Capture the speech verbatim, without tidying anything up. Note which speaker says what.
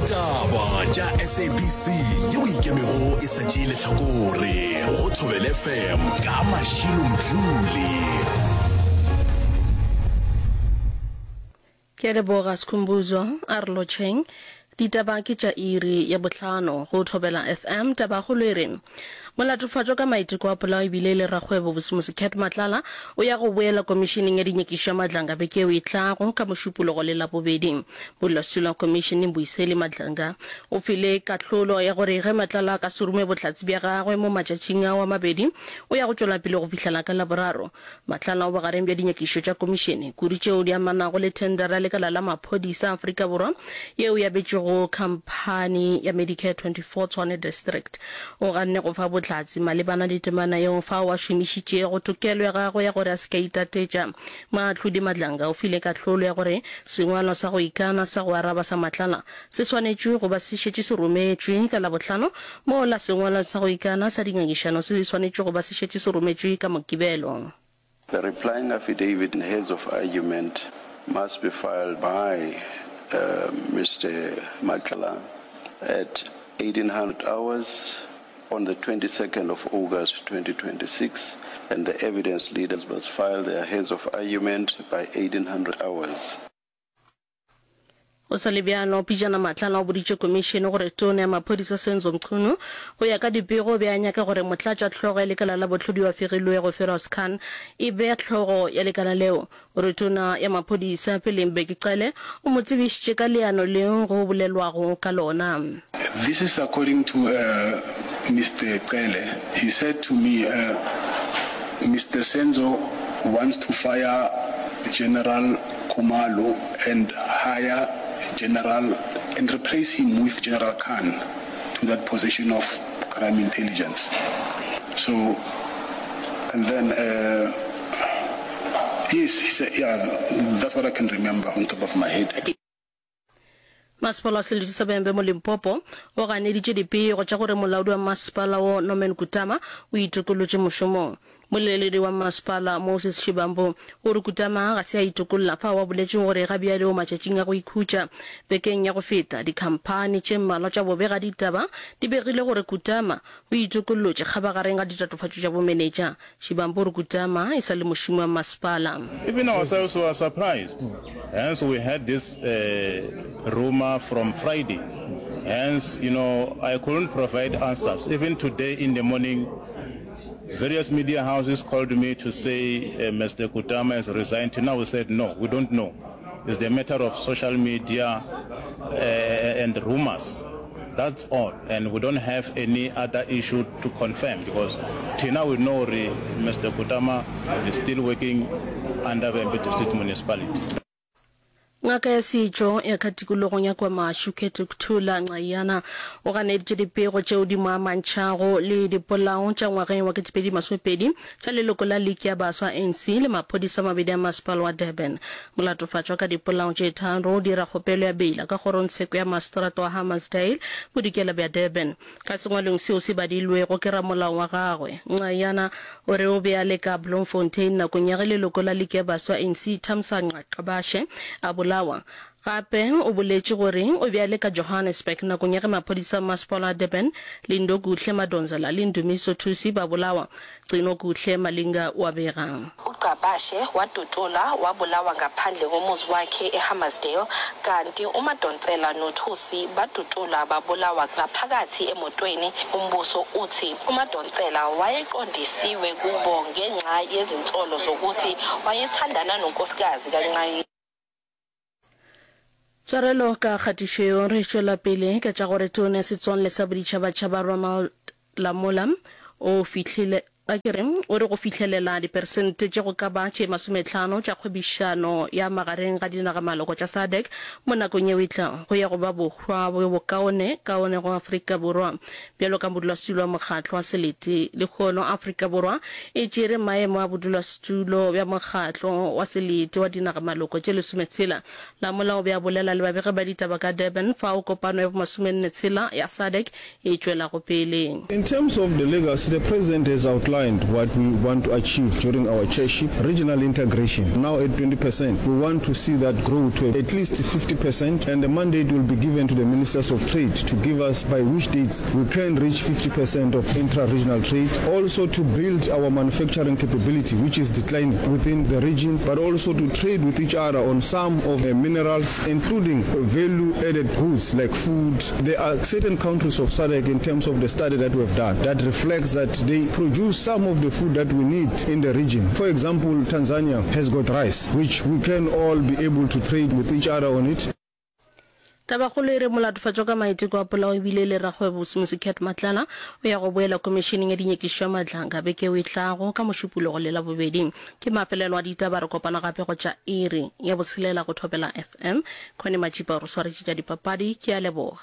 Speaker 1: Ditaba tša S A B C yeo ikemego e sa tšee lehlakore go Thobela F M ka Mashilo Mdluli.
Speaker 2: Ke a leboga Skhumbuzo, a re lotšheng. Ditaba ke tša iri ya bohlano go Thobela F M. Tabakgolo e re molatofatšwa ka maiteko a polao ebile e le rakgwebo Bosimosi Cat Matlala o ya go boela komišeneng ya dinyakišišo ya Madlanga beke yeo e tlago ka Mošupologo le Labobedi. Modulasetulo wa komišene Mbuyiseli Madlanga o file kahlolo ya gore ge Matlala a ka se rume bohlatse bja gagwe mo matšatšing ao a mabedi o ya go tšwela pele go fihlela ka Laboraro. Matlala o bogareng bja dinyakišišo tša komišene, kudu tšeo di amanago le thendara ya lekala la maphodisa a Afrika Borwa yeo e abetšwego khamphani ya Medicare twenty four Tshwane District. O ganne go fa bohlatse malebana le temana yeo fao a šomišitšego tokelo ya gagwe ya gore a se ke a itatetša. Moahlodi Madlanga o file kahlolo ya gore sengwalwa sa go ikana sa go araba sa Matlala se swanetšwe go ba se šetše se rometšwe ka Labohlano, mola sengwalwa sa go ikana sa dingangišano se swanetšwe go ba se šetše se rometšwe ka Mokibelo.
Speaker 3: The replying affidavit and heads of argument must be filed by uh, Mister Matlala at eighteen hundred hours on the twenty-second of August twenty twenty-six, and the evidence leaders must file their heads of argument by eighteen hundred hours.
Speaker 2: Go sa le bjalo, pejana Matlala o boditše komišene gore tona ya maphodisa Senzo Mchunu go ya ka dipego o be a nyaka gore motlatšahlogo ya lekala la bohlodi wa fegilwego Firoz Khan e be hlogo ya lekala leo. O re tona ya maphodisa peleng Bheki Cele o mo tsebišitše ka leano leo go bolelwago ka lona.
Speaker 4: This is according to uh, Mister Cele. He said to me, uh, Mister Senzo wants to fire General Khumalo and hire General and replace him with General Khan to that position of crime intelligence. So, and then, uh, yes, he said, yeah, that's what I can remember on top of my head.
Speaker 2: Masepala wa selete sa Vhembe mo Limpopo o ganeditše dipego tša gore molaodi wa masepala wo Norman Kutama o itokolotše mošomong. Moleledi wa masepala Moses Shibambo o re Kutama ga se a itokolla fao a boletšeng gore ga bjale o matšatšing a go ikhutša. Bekeng ya go feta dikhamphani tše mmalwa tša bobega ditaba di begile gore Kutama o itokollotše kgabagareng ga ditatofatšo tša bomenetša. Shibambo o re Kutama e sa le mošomi wa masepala.
Speaker 5: Even ourselves were surprised. Hence, we had this uh, rumor from Friday. Hence, you know, I couldn't provide answers. Even today in the morning, various media houses called me to say uh, Mister Kutama has resigned. Now we said, no, we don't know. It's the matter of social media uh, and rumors. That's all. And we don't have any other issue to confirm because till now we know Mister Kutama is still working under Vhembe District Municipality.
Speaker 2: Ngaka ya setšo ya ka tikologong ya KwaMashu Khethukuthula Ncayiyana o ganeditše dipego tšeo di mo amantšhago le dipolao tša ngwageng wa ketepedi masomepedi tša leloko la Liki ya Baswa A N C le maphodisa a mabedi a masepala wa Durban. Molatofatšwa ka dipolao tše tharo o dira kgopelo ya beila ka kgorongtsheko ya maseterata wa Hammarsdale bodikela bja Durban. Ka sengwalong seo se badilwego ke ramolao wa gagwe, Ncayiyana o re o be a le ka Bloemfontein nakong ya ge leloko la Liki ya Baswa A N C Thamsanqa Gcabashe a bolawa. Gape o boletše gore o be a le ka Johannesburg nakong ya ge maphodisa a masepala wa Durban Lindokuhle Madonsela le Ndumiso Thusi ba bolawa. Gcinokuhle Malinga o a bega.
Speaker 6: UGcabashe wadutshulwa wabulawa ngaphandle komuzi wakhe eHammarsdale kanti uMadonsela noThusi badutshulwa babulawa ngaphakathi emotweni. Umbuso uthi uMadonsela wayeqondisiwe kubo ngenxa yezinsolo zokuthi wayethandana nonkosikazi kaNcayi.
Speaker 2: Tshwarelo ka kgatišo yeo. Re tšwela pele ka tša gore tona ya setswalle sa boditšhabatšhaba Ronald Lamola o fihlile a ke re o re go fihlelela diperesente tše go ka ba tše masometlhano tša kgwebišano ya magareng ga dinagamaloko tša SADC mo nakong yeo e tlago go ya go ba bohwa bjo bokaone kaone go Afrika Borwa. Bjalo ka modulasetulo wa mokgatlo wa selete lehono Afrika Borwa e tšere maemo a bodulasetulo bja mokgatlo wa selete wa dinagamaloko tše lesometshela. Lamola o be a bolela le babegi ba ditaba ka Durban fao kopano ya bomasomenne tshela ya SADC e tšwelago pele.
Speaker 7: In terms of the legacy, the president has outlined outlined what we want to achieve during our chairship. Regional integration, now at twenty percent. We want to see that grow to at least fifty percent, and the mandate will be given to the Ministers of Trade to give us by which dates we can reach fifty percent of intra-regional trade. Also to build our manufacturing capability, which is declining within the region, but also to trade with each other on some of the minerals, including value-added goods like food. There are certain countries of SADC in terms of the study that we have done that reflects that they produce some of the food that we need in the region. For example, Tanzania has got rice, which we can all be able to trade with each other on it.
Speaker 2: Tabakgolo e re molatofatšwa ka maiteko a polao ebile e le rakgwebo Vusimuzi Cat Matlala o ya go boela Komišeneng ya Dinyakišišo ya Matlanga beke yeo e tlago ka Mošupologo le Labobedi. Ke mafelelo a ditaba, re kopana gape go tša iri ya botshelela go Thobela F M. Connie Matšipa o re swaretše tša dipapadi. Ke a leboga.